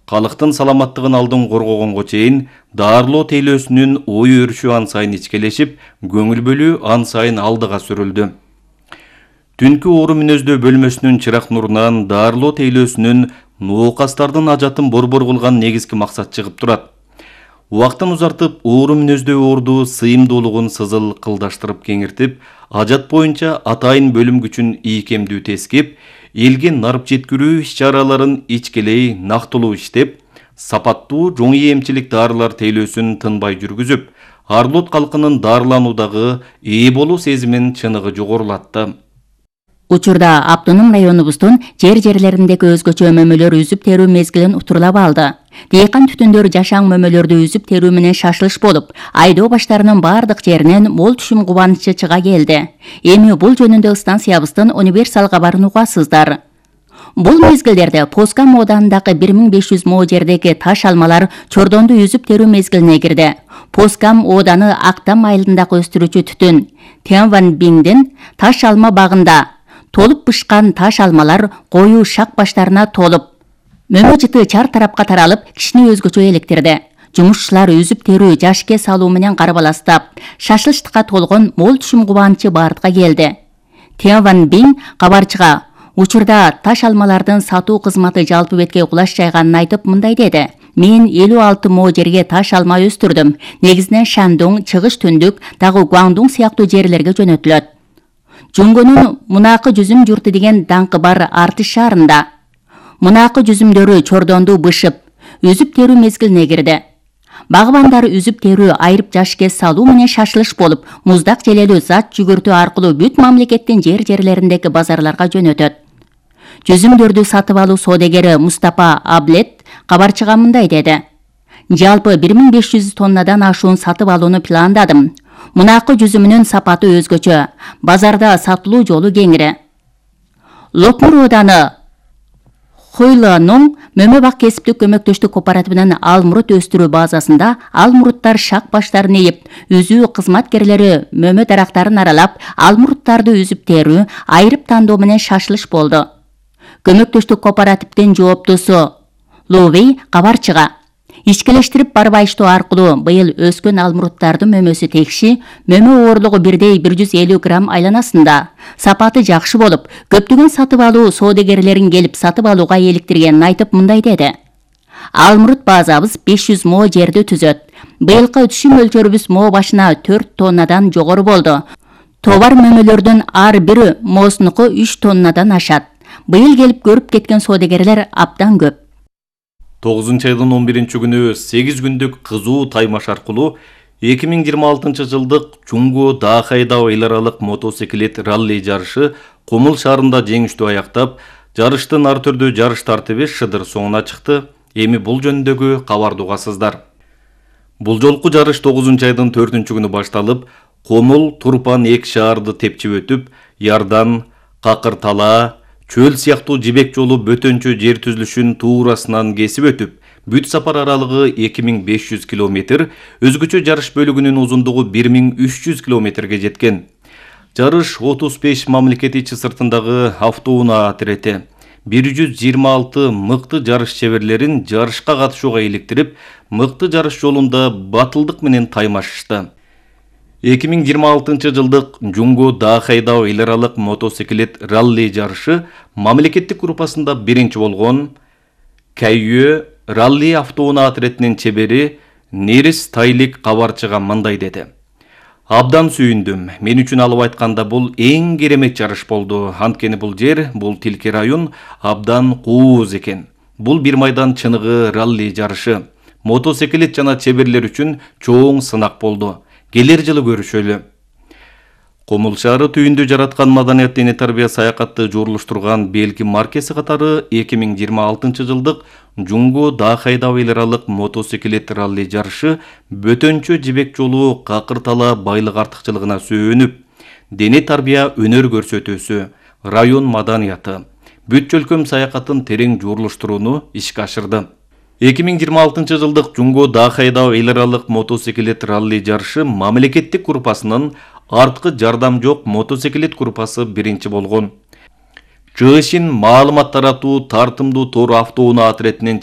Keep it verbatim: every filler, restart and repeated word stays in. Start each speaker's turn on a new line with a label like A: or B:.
A: Калктын саламаттыгын алдын коргогонго чейин Даарылоо тейлөөсүнүн ой өрүшү ан сайын ичкелешип, көңүл бөлүү ан сайын алдыга сүрүлдү. Түнкү оору мүнөздөө бөлмөсүнүн чырак нурунан Даарылоо тейлөөсүнүн ноокастардын ажатын борбор кылган негизги максат чыгып турат. Убактын узартып, оору мүнөздөө оорду сыйымдуулугун сызыл кылдаштырып кеңиртип, ажат боюнча атайын бөлүм күчүн ийкемдүү тескип, элге нарып жеткирүү иш-чараларын ичкелей нактылуу иштеп, сапаттуу жоңий эмчилик дарылар тейлөөсүн тынбай жүргүзүп, Арлот калкынын дарылануудагы ээ болуу сезимин чыныгы жогорулатты.
B: Учурда автоном районубуздун жер-жерлериндеги өзгөчө мөмөлөр үзүп терүү мезгилин утурлап алды. Дыйкан түтүндөр жашаң мөмөлөрдү үзүп терүү менен шашылыш болуп, айдоо баштарынын бардык жеринен мол түшүм кубанычы чыга келди. Эми бул жөнүндө станциябыздын универсал кабарын угасыздар. Бул мезгилдерде Поскам ооданындагы бир миң беш жүз мо жердеги таш алмалар чордонду үзүп терүү мезгилине кирди. Поскам ооданы Актам айылындагы өстүрүүчү түтүн Тянван Биңдин таш алма багында толуп бышкан таш алмалар коюу шак баштарына толуп, мөмө жыты чар тарапка таралып, кишини өзгөчө электирди. Жумушчулар үзүп терүү жашке салуу менен карабаластап, шашылыштыкка толгон мол түшүм кубанычы бардыга келди. Тянван Биң кабарчыга учурда таш алмалардын сатуу кызматы жалпы бетке кулаш жайганын айтып мындай деди: Мен элүү алты мо жерге таш алма өстүрдүм. Негизинен Шандуң, Чыгыш Түндүк, дагы Гуаңдуң сыяктуу жерлерге жөнөтүлөт. Жунгонун Мунакы жүзүм журту деген даңкы бар Артыш шаарында мунакы жүзүмдөрү чордонду бышып, үзүп терүү мезгилине кирди. Багбандар үзүп терүү айрып жашке салуу менен шашылыш болуп, муздак желелүү зат жүгүртүү аркылуу бүт мамлекеттин жер-жерлериндеги базарларга жөнөтөт. Жүзүмдөрдү сатып алуу соодагери Мустапа Аблет кабарчыга мындай деди: Жалпы бир миң беш жүз тоннадан ашуун сатып алууну пландадым. Мунакы жүзүмүнүн сапаты өзгөчө, базарда сатылуу жолу кеңири. Лопмур ооданы Хуйланың мөмө бак кесиптик көмөктөштүк кооперативинин алмурут өстүрүү базасында алмуруттар шак баштарын ийип, үзүү кызматкерлери мөмө дарактарын аралап, алмуруттарды үзүп терүү, айрып тандоо менен шашылыш болду. Көмөктөштүк кооперативдин жооптусу Ловей кабарчыга ичкелештирип барбайыштоо аркылуу быйыл өскөн алмуруттардын мөмөсү текши, мөмө оорлугу бирдей бир жүз элүү грамм айланасында. Сапаты жакшы болуп, көптөгөн сатып алуу соодагерлерин келип сатып алууга эликтиргенин айтып мындай деди: Алмурут базабыз беш жүз мо жерди түзөт. Быйылкы түшүм өлчөрүбүз мо башына төрт тоннадан жогору болду. Товар мөмөлөрдүн ар бир мосунуку үч тоннадан ашат. Быйыл келип көрүп кеткен соодагерлер абдан көп.
A: тогузунчу айдын он биринчи күнү сегиз күндүк кызуу таймаш аркылуу эки миң жыйырма алтынчы жылдык Жунго Даахайдау эл аралык мотоциклет ралли жарышы Комул шаарында жеңиштүү аяктап, жарыштын ар түрдүү жарыш тартиби шыдыр соңуна чыкты. Эми бул жөнүндөгү кабарды угасыздар. Бул жолку жарыш тогузунчу айдын төртүнчү күнү башталып, Комул, Турпан эки шаарды тепчип өтүп, Ярдан, Какыр Талаа, Чөл сыяктуу жибек жолу бөтөнчө жер түзүлүшүн туурасынан кесип өтүп, бүт сапар аралыгы эки миң беш жүз километр, өзгөчө жарыш бөлүгүнүн узундугу бир миң үч жүз километрге жеткен. Жарыш отуз беш мамлекет ичи сыртындагы автоунаа отирети бир жүз жыйырма алты мыкты жарыш чеберлерин жарышка катышууга иликтирип, мыкты жарыш жолунда батылдык менен таймашышты. эки миң жыйырма алтынчы жылдык Жунго Даахайдау эл аралык мотоциклет ралли жарышы мамлекеттик группасында биринчи болгон Кайюэ ралли автоунаа отиретинин чебери Нерис Тайлик кабарчыга мындай деди: Абдан сүйүндүм. Мен үчүн алып айтканда бул эң керемет жарыш болду. Анткени бул жер, бул тилке район абдан кууз экен. Бул бир майдан чыныгы ралли жарышы. Мотоциклет жана чеберлер үчүн чоң сынак болду. Келер жылы көрүшөлү. Комул шаары түйүндө жараткан маданият дене тарбия саякатты жуурулуштурган белги маркеси катары эки миң жыйырма алтынчы жылдык Жунго Даахайдау эл аралык мотоциклет ралли жарышы бөтөнчө жибек жолу Какыр Талаа байлык артыкчылыгына сөөнүп, дене тарбия өнөр көрсөтүүсү, район маданияты, бүт чөлкөм саякатын терең жуурулуштурууну ишке ашырды. эки миң жыйырма алтынчы жылдык Жунго Даахайдау эл аралык мотоциклет ралли жарышы мамлекеттик группасынын арткы жардам жок мотоциклет группасы биринчи болгон. Чыгышын маалымат таратуу тартымдуу тор автоунаа отиретинин